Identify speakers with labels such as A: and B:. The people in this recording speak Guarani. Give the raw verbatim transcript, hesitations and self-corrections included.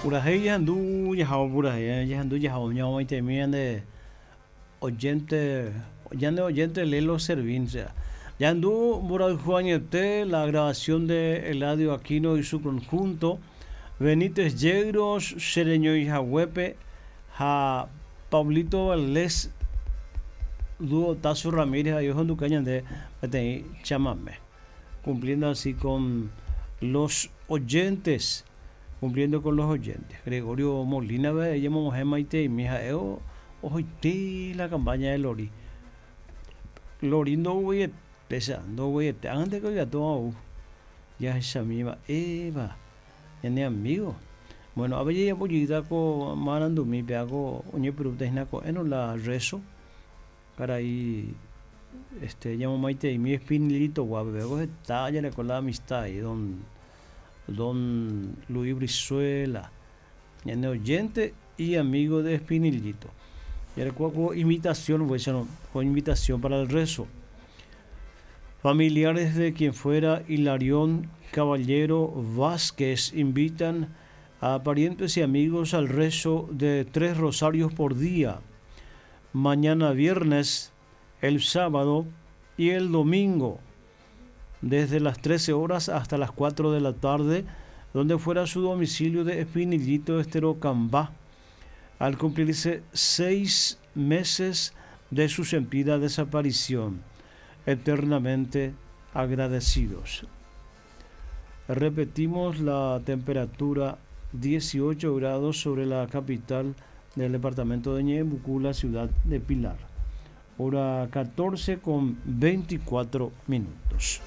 A: Purahéi jahendu jahavo purahéi jahendu jahavo ñamomaitemi ñande oyente ñande oyente Lelo Servín jahendu mborayhu añete la grabación de Eladio Aquino y su conjunto Benítez Yegros Sereñoi Haguepe ha Pablito Valdés dúo Tazo Ramírez ahí ohenduka ñande peteĩ chamame cumpliendo así con los oyentes cumpliendo con los oyentes Gregorio Molina ella ha'e ohoite la campaña de Lori Lori ndogueiete ndogueiete ág̃ante ikatu ou jahechami mba'épa ñane amigo bueno avei jajapo ko marandumi péako oñepyrũta ko'ẽrõ la rezo karai este ñamomaiteimi Espinillito-guápe péako heta jareko la amistad ahí don don Luis Brizuela ñane oyente y amigo de Espinillito jareko ko invitación con invitación para el rezo familiares de quien fuera Hilarión Caballero Vázquez invitan a parientes y amigos al rezo de tres rosarios por día mañana viernes, el sábado y el domingo, desde las trece horas hasta las cuatro de la tarde, donde fuera su domicilio de Espinillito Estero Cambá, al cumplirse seis meses de su sentida desaparición, eternamente agradecidos. Repetimos la temperatura dieciocho grados sobre la capital del departamento de Ñeembucú, la ciudad de Pilar. Hora catorce con veinticuatro minutos.